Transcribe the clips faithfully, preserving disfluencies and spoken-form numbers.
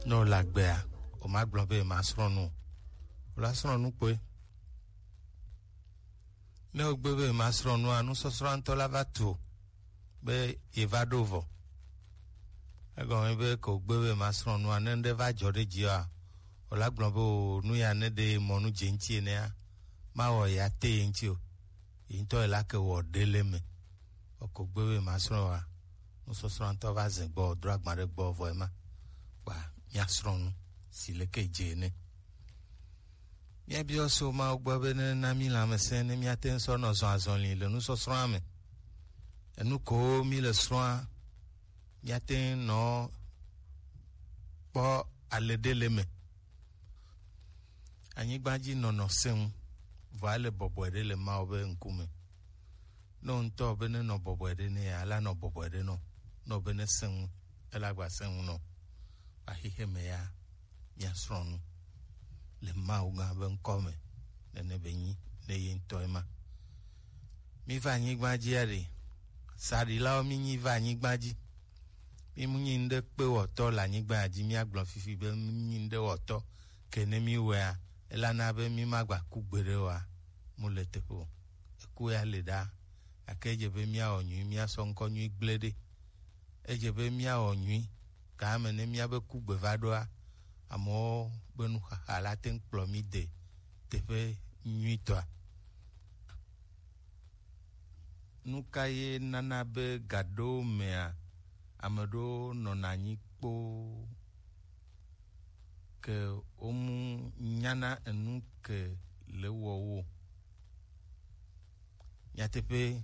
Ne wòle agbea, wòmagblɔ be yemasrɔ̃ nu o. Wòla srɔ̃ nu kpɔe. Ne wògbe be yemasrɔ̃ nua, nusɔsrɔ̃a ŋutɔ la va tu be yeva ɖo vɔ. Egɔme be ke wògbe be yemasrɔ̃ nua, ne ŋɖe va dzɔ ɖe dzia, wòla gblɔ be o, nu ya ne ɖe mɔ nu dze ŋuti enea, mawɔ ya te ye ŋuti o. Yi ŋutɔ yi la ke wɔ ɖe le me. Eko gbe be masrɔ̃ wa, nusɔsrɔ̃ ŋutɔ va ze gbɔ, dro agba ɖe gbɔ vɔ ema. Kpa miasrɔ̃ nu si leke dze ene. Míabiɔ so Mawu gbɔ be ne na mí lãmesẽ ne míate ŋu sɔ nɔ zɔn azɔli le nusɔsrɔ̃a me. Enu ko mí le srɔ̃a, míate ŋu nɔ kpɔ ale ɖe le me. Anyigba dzi nɔnɔ sẽ ŋu, vɔ ele bɔbɔe ɖe le Mawu be ŋkume. Ne wò ŋutɔ be ne nɔ bɔbɔe ɖe ne ya, ela nɔ bɔbɔe ɖe nɔ. Ne wò be ne sẽ ŋu, ela gba sẽ ŋu nɔ. Axixe me ya, míasrɔ̃ nu le Mawu gã be ŋkɔ me, nene be nyi ne ye ŋutɔ ema. Mí va anyigba dzi aɖe, saɖilawo mí nyi va anyigba dzi. Mí mu nyi ŋɖe kpe wɔtɔ le anyigba ya dzi, míagblɔ fifi be mí nyi ŋɖe wɔtɔ, ke ne mí wɔea, elana be mí magba ku gbeɖe oa, mu le teƒe o. Eku ya le ɖa, gake edze be míawɔ nyui, míasɔ ŋkɔ nyui gblẽ ɖe. Edze be míawɔ nyui, game ne míabe kugbe va ɖoa, amewo be nuxaxa la te ŋu kplɔ mí de teƒe nyuitɔa. Nu ka ye nana be gaɖewo mea, ame ɖewo nɔna anyi kpoo ke womu nyana enu ke le wɔwo? Nyateƒe,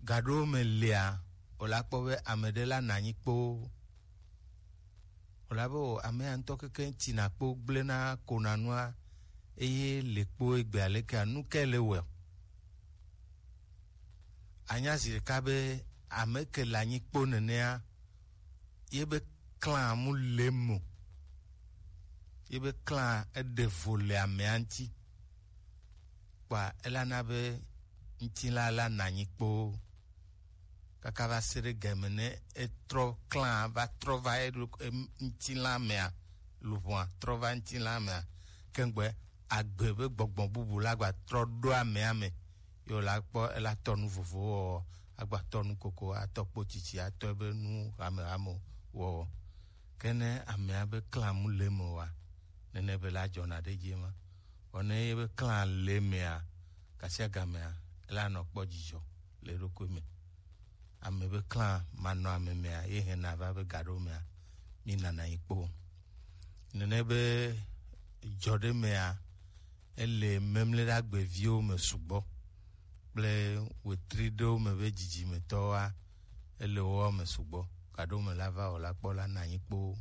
gaɖewo me lia, wòla kpɔ be ame ɖe la nɔ anyi kpoo. Wòla be o, amea ŋutɔ keke tina kpo gblẽna kona nua, eye le kpo egbea lekea, nu ke le wɔe? Anya zi ɖeka be ame ke le anyi kpo nenea, ye be klã mu le mo, ye be klã eɖe vo le amea ŋuti, kpa elana be ŋutilã la nɔ anyi kpoo. Kaka va se ɖe game ne etrɔ klã va trɔ va eɖo-, em-, ŋutilã mea, luʋɔa trɔ va ŋutilã mea, kengbe agbe be gbɔgbɔ bubu la gba trɔ ɖo amea me, ye wòla kpɔ ela tɔ nu vovowo wɔwɔ, agba tɔ nu koko, atɔ kpo tsitsi, atɔ ebe nu hamehame wɔwɔ. Ke ne amea be klã mu le me oa, nene be la dzɔna ɖe edzi ema. Vɔ ne ye be klã le mea, gasiagamea, ela nɔ kpɔ dzidzɔ le eɖokui me. Ame be klã manɔ ame mea, ye hɛna va be gaɖewo mea, mi nana yi kpo. Nene be dzɔ ɖe mea, ele memle ɖe agbeviwo me sugbɔ kple wetri ɖewo me be dzidzimetɔwoa, ele wo me sugbɔ. Gaɖewo me la va wɔ la kpɔ la na anyi kpoo.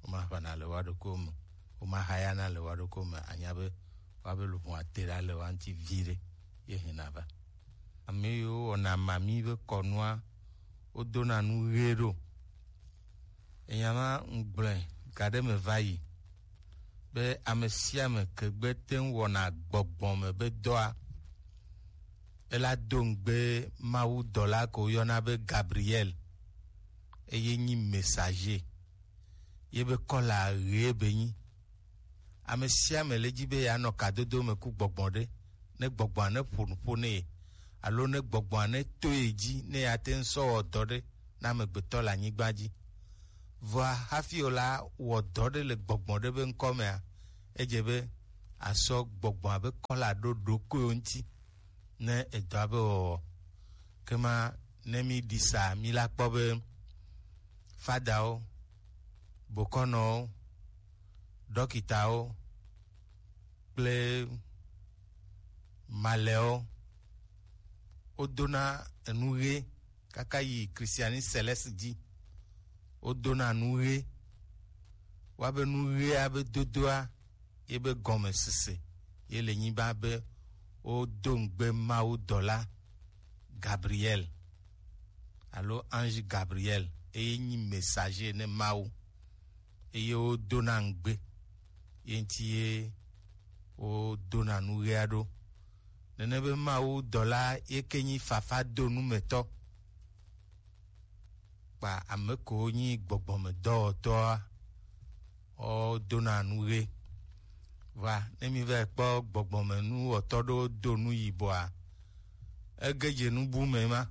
Womaʋãna le woa ɖokuiwo me, womahayana le woa ɖokuiwo me, anya be woabe luʋɔa te ɖa le woa ŋuti viɖe, ye hɛna va. Ame yiwo wɔna mami be kɔnua, wodona nu ɣie ɖo. Enya ma ŋgblɔe gaɖe me va yi be ame sia ame ke gbe te ŋu wɔna gbɔgbɔ me be dɔa, ela do ŋugbe Mawu dɔla ko woyɔna be Gabriel, eye nyi messager. Ye be kɔla ɣee be nyi. Ame sia ame le dzi be yeanɔ kadodo me ku gbɔgbɔ ɖe, ne gbɔgbɔa ne ƒo nu ƒo ne ye, alo ne gbɔgbɔa ne to ye dzi, ne yeate ŋu sɔ wɔ dɔ ɖe na amegbetɔ le anyigba dzi. Vɔa hafi wòla wɔ dɔ ɖe le gbɔgbɔ ɖe be ŋkɔ mea, edze be asɔ gbɔgbɔa be kɔla ɖo ɖokuiwo ŋuti ne edɔa be wɔwɔ. Kema ne mi ɖi sa, mi la kpɔ be fadawo, bokɔnɔwo, ɖɔkitawo kple malɛwo, wodona enu ɣi kaka yi Christianisme céleste dzi. Wodona nu ɣi, woabe nu ɣia be dodoa, ye be gɔmesese ye le nyigba be wodo ŋugbe Mawu dɔla Gabriel alo ange Gabriel, eye nyi messager ne Mawu, eye wodona ŋugbe ye ŋuti ye wodona nu ɣia ɖo. Nene be Mawu dɔla ye ke nyi fafa do nu me tɔ. Kpa ame kewo nyi gbɔgbɔmedɔwɔtɔa, Wodona nu ɣe. Vɔa, ne mi va kpɔ gbɔgbɔme nu wɔtɔ ɖewo do nu yibɔa, ege dze nu bu me ma.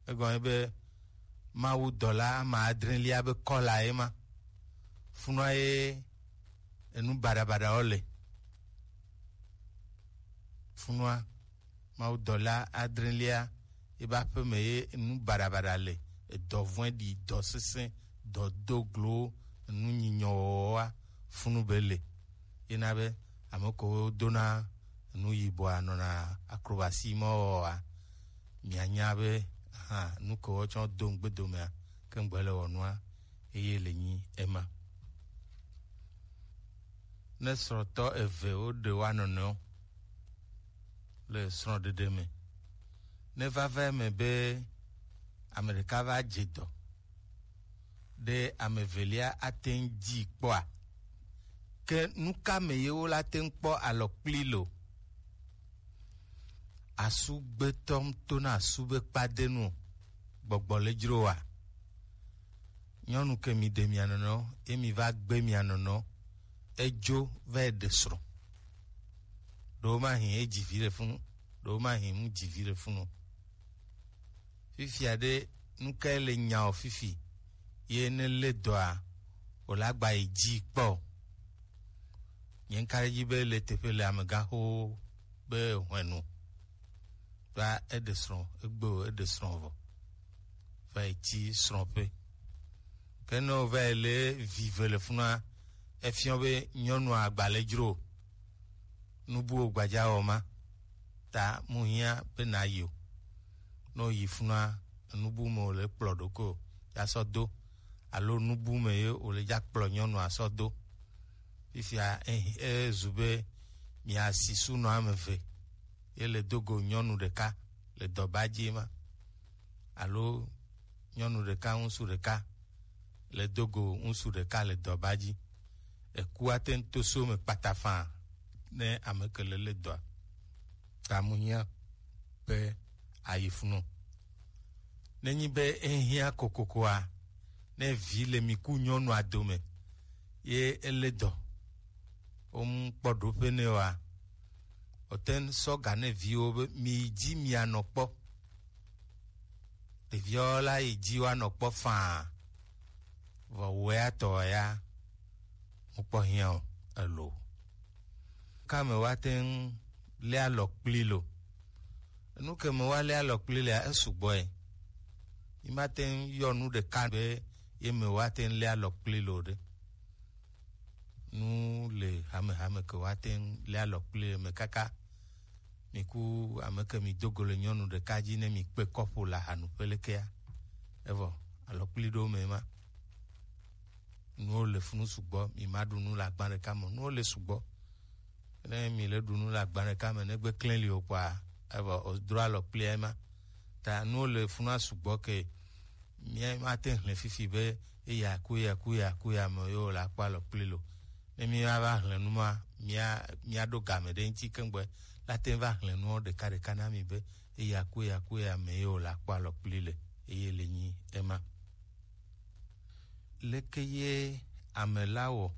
Egɔme be Mawu dɔla ame adrelia be kɔla ye ma. Funua ye enu baɖabaɖawo le. Funua Mawu dɔla adrelia, ebe aƒeme ye nu baɖabaɖa le, edɔ vɔ̃ɖi, dɔ sesẽ, dɔ do glo, enu nyinyɔ wɔwɔa, funu be le. Yena be ame kewo dona nu yibɔa nɔna acrobatie ma wɔwɔa, mianya be hã nu kewo tsɔ do ŋugbedomea, ke ŋgbe le wɔ nua, eye le nyi ema. Ne srɔ̃tɔ eve woɖe woa nɔnɔewo le srɔ̃ɖeɖe me, ne vava eme be ame ɖeka va dze dɔ ɖe ame evelia ate ŋu dzi kpɔa, ke nu ka me ye wola te ŋu kpɔ alɔkpli lo? Asu gbetɔ ŋu tona asu be kpadenu o, gbɔgbɔ le dzro wa. Nyɔnu ke mi ɖe mia nɔnɔ, ye mi va gbe mia nɔnɔ, edzo va yi ɖe srɔ̃. Ɖewo ma hin edzi vi ɖe funu, ɖewo ma hin mu dzi vi ɖe funu. Fifia ɖe, nu kae le nya o fifi? Ye ne le dɔa, o la gba yi dzi kpɔ. Nye ŋka ɖe dzi be le teƒe le amegãxowo be hwenu. Kpa eɖe srɔ̃, egbe o, eɖe srɔ̃ vɔ. Va yi tsi srɔ̃ƒe. Ke ne wova yi le vive le funua, efiɔ be nyɔnua agba le dzro o. Nu buwo gbadza wɔ ma. Ta mu hiã be na yi o. Ne wo yi funua, enu bu me wòle kplɔ ɖokui o, ya sɔ do. Alo nu bu me ye wòle dza kplɔ nyɔnua sɔ do. Fifia, e, ezu be mia si sunɔ ame eve, ye le do go nyɔnu ɖeka le dɔba dzi ma. Alo nyɔnu ɖeka, ŋutsu ɖeka le do go ŋutsu ɖeka le dɔba dzi. Eku ate ŋu to so me kpata faa ne ame ke le le dɔa. Ta mu hiã be ayi funu. Nenyi be ehiã kokokoa, ne vi le mi ku nyɔnua dome, ye ele dɔ, wo mu kpɔ ɖoƒe nɛ oa, wote ŋu sɔ ga ne viwo be mi yi dzi mia nɔ kpɔ. Ɖeviawo la yi dzi woanɔ kpɔ faa, vɔ wea tɔ ya mukpɔ hiã o, elo. Ka me woate ŋu lé alɔ kpli lo? Enu ke me woalé alɔ kpli lea, esugbɔ ye. Yi mate ŋu yɔ nu ɖeka be ye me woate ŋu lé alɔ kpli lo ɖe. Nu le hamehame ke woate ŋu lé alɔ kpli le me kaka. Mi ku ame ke mi do go le nyɔnu ɖeka dzi ne mi kpe kɔƒo le ahanuƒe lekea. Evɔ alɔ kpli ɖo me ma. Nuwo le funu sugbɔ, mi ma ɖu nu le agba ɖeka me. Nuwo le sugbɔ. Ne mi le ɖu nu le agba ɖeka me, ne gbe klẽ li o kpɔa, evɔ o dro alɔ kpli ma. Ta nuwo le funua sugbɔ ke mía mate ŋu hlẽ fifi be eya ku ya ku ya ku ya me yewo le akpɔ alɔ kpli lo. Ne mía va hlẽ nu ma, mía, mía ɖo game ɖe ŋuti keŋgbe la te va hlẽ nuwo ɖeka ɖeka na mi be eya ku ya ku ya me yewo le akpɔ alɔ kpli le, eye le nyi ema. Leke ye ame la wɔ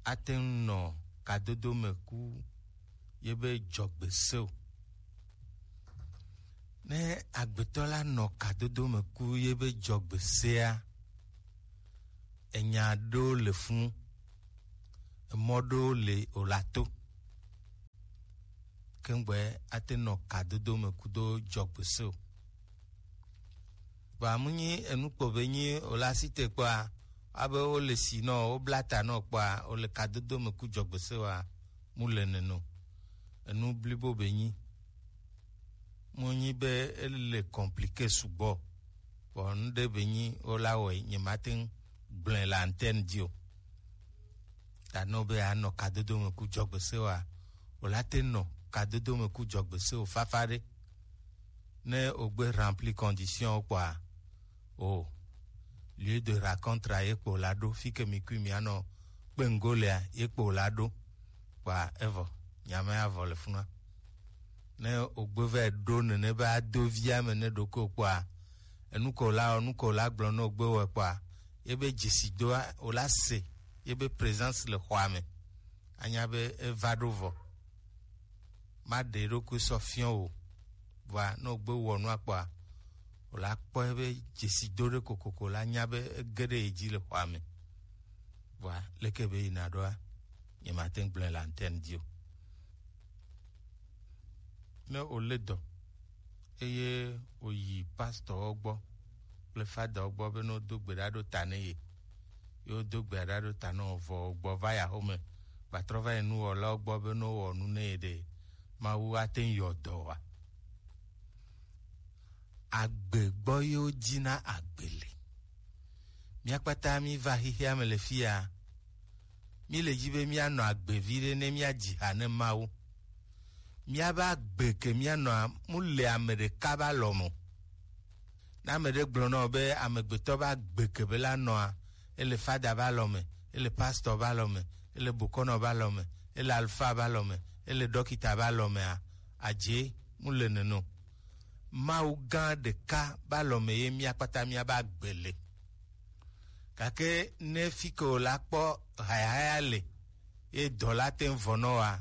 ate ŋu nɔ kadodo me ku ye be dzɔgbe se o? Ne agbetɔ la nɔ kadodo me ku ye be dzɔgbe sea, enya ɖewo le funu, emɔ ɖewo le o la to. Keŋgbe ate nɔ kadodo me kudo dzɔgbe se o. Vɔa mu nyi enu kpo be nyi o la si te kpɔa, abe wo le si nɔ, wo bla ta nɔ kpɔa, o le kadodo me ku dzɔgbe se wa, mu le neno. Enu blibo be nyi. Mu nyi be ele compliqué sugbɔ. Vɔ nu ɖe be nyi wo la wɔe, nye mate ŋu gblẽ le antenne dzi o. Ta ne wo be anɔ kadodo me ku dzɔgbe se wa, o la te nɔ kadodo me ku dzɔgbe se o fafa ɖe. Ne o gbe rempli condition kpɔa, o lieu de rencontre ye kpo la ɖo, fi ke mi kui mi anɔ kpe ŋgo lea, ye kpo la ɖo. Kpɔa evɔ, nyame avɔ le funua. Ne o gbe vɛ ɖo nene be ado via me ne ɖo ko kpɔa, enu ko la, enu ko la gblɔ ne o gbe wɔ kpɔa, Ebe dzesi doa, wòla se yebe présence le xɔa me. Anya be eva ɖo vɔ. Maɖe eɖokui sɔ fiɔ o. Vɔa, ne wògbe wɔ nua kpɔa, wòla kpɔ ebe dzesi do ɖe kokoko, la nya be ege ɖe ye dzi le xɔa me. Vɔa, leke be yina ɖoa, nyemate ŋu gblɔe le antenne dzi o. Ne wòlé dɔ, eye wòyi pastorwo gbɔ kple fadawo gbɔ be ne wodo gbe ɖa ɖo ta ne ye, ye wodo gbe ɖa ɖo ta ne wòvɔ gbɔ va yi axome, gbatrɔ va yi nuwɔlawo gbɔ be ne wowɔ nu ne ye ɖe, Mawu ate ŋu yɔ dɔ wa? Agbe gbɔ yewo dzina agbe le. Mía kpata mí va xexea me le fia. Mí le dzi be míanɔ agbe viɖe ne míadzi ha ne Mawu. Míabe agbe ke míanɔa, mu le ame ɖeka be alɔ me o. Ne ame ɖe gblɔ na wò be amegbetɔ be agbe ke be la nɔa, ele fada be alɔ me, ele pastor be alɔ me, ele bokɔnɔ be alɔ me, ele alfa be alɔ me, ele ɖɔkita be alɔ mea, adze, mu le nene o. Mawu gã ɖeka be alɔ me ye mía kpata míabe agbe le. Gake ne fi ke wòla kpɔ hayahaya le, ye dɔ la te ŋu vɔ nɔ wa.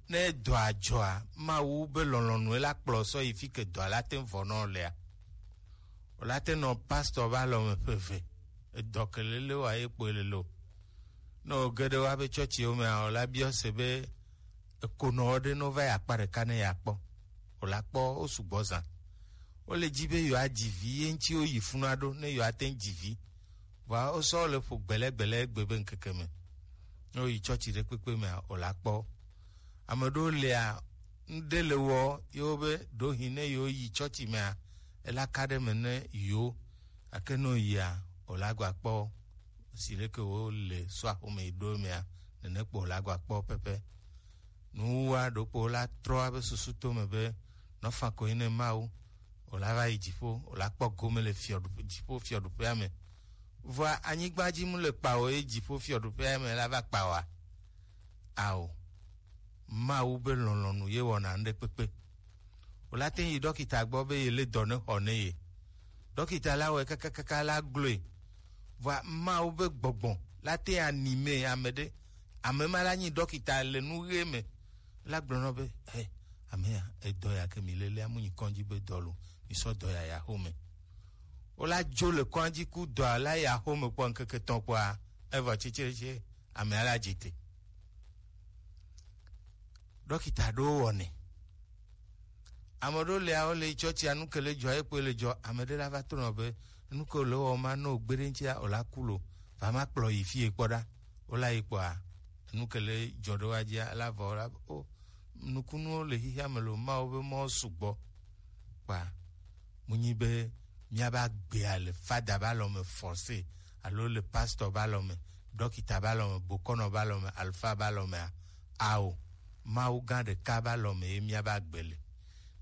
Ne dɔa dzɔa, Mawu be lɔlɔ̃nue la kplɔ sɔ yi fi ke dɔa la te ŋu vɔ nɔ lea. Wòla te nɔ pastor be alɔ me ƒe eve. Edɔ ke lele wa ye kpɔe lele o. Ne wòge ɖe woabe tsɔtsiwo mea, wòla biɔ se be ekonɔwo ɖe ne wova yi akpa ɖeka ne yeakpɔ. Wòla kpɔ wo sugbɔ zã. Wole dzi be yewoadzi vi ye ŋuti woyi funua ɖo ne yewoate ŋu dzi vi. Vɔa wosɔ le ƒo gbɛlɛgbɛlɛ egbe be ŋkeke me. Ne woyi tsɔtsi ɖe kpekpe mea, wòla kpɔ wo. Ame ɖewo lia, ŋɖe le wɔ yewo be ɖewohĩ ne yewoyi tsɔtsi mea, ela ka ɖe me ne yewo. Gake ne woyia, wòla gba kpɔ wo. Si leke wole sɔa xome yi ɖo mea, nene kpo wòla gba kpɔ wo pɛpɛ. Nuwuwua ɖokpo la trɔ abe susu to me be, nɔfa ko yi ne Mawu, wòla va yi dziƒo, wòla kpɔ gome le fiɔɖuƒe, dziƒo fiɔɖuƒea me. Vɔa anyigba dzi mu le kpa o, ye dziƒo fiɔɖuƒea me la va kpa oa? Ao, Mawu be lɔlɔ̃nu ye wɔna ŋɖe kpekpe. Wòla te yi ɖɔkita gbɔ be yele dɔ ne xɔ ne ye. Ɖɔkita la wɔe kakakaka la gblɔe. Vɔa Mawu be gbɔgbɔ la te anime ame ɖe. Ame ma la nyi ɖɔkita le nu ɣe me. La gblɔ nɔ be, he, amea, edɔ ya ke mi lelea mu nyi kɔndzi be dɔ lo, mi sɔ dɔ ya ya xome. Wola dzo le kɔndzi ku dɔa la ya xome kpɔ ŋkeke tɔn kpɔa, evɔ tsitsetse, amea la dzi te. Ɖɔkita ɖewo wɔnɛ. Ame ɖewo le awo le tsɔtsia nu ke le dzɔ ye kpoe le dzɔ. Ame ɖe la va trɔ nɔ be nu ke le wɔ ma no gbe ɖe ŋutia o la ku lo. Va ma kplɔ yi fie kpɔ ɖa. Wo la yi kpɔa, nu ke le dzɔ ɖe wa dzia la vɔ la o. Nukunuwo le xixia me lo, Mawu be mɔ sugbɔ. Kpa mu nyi be míabe agbea le fada be alɔ me forcé, alo le pastor be alɔ me, ɖɔkita be alɔ me, bokɔnɔ be alɔ me, alfa be alɔ mea? Ao, Mawu gã ɖeka be alɔ me ye míabe agbe le.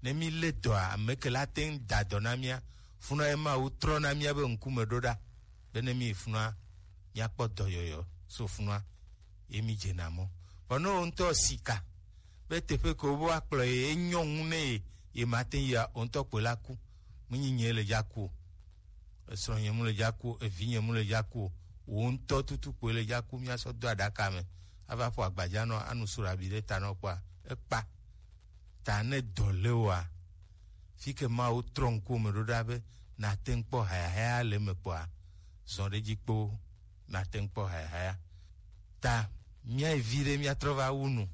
Ne mí lé dɔa, ame ke la te ŋu da dɔ na mía. Funɔ ye Mawu trɔ na míabe ŋkume ɖo ɖa, be ne mí yi funɔa, míakpɔ dɔyɔyɔ so funɔa, ye mí dzena mɔ. Vɔ ne wo ŋutɔ sika be teƒe ke wo be woakplɔ ye, enyɔ ŋu ne ye, ye mate ŋu yia, wo ŋutɔ kpoe la ku. Menyi nye le dza ku o. Esrɔ̃nye mu le dza ku o, evinye mu le dza ku o. Wo ŋutɔ tutu kpoe le dza ku, míasɔ do aɖaka me. Ava ƒo agbadza nɔ, anu surabi ɖe ta nɔ kpɔa, ekpa. Ta ne dɔ le woa, fi ke Mawu trɔ ŋkuwò me ɖo ɖa be nàte ŋu kpɔ hayahaya le eme kpɔa, zɔ ɖe edzi kpoo, nàte ŋu kpɔ hayahaya. Ta míayi vi ɖe míatrɔ va wu nu.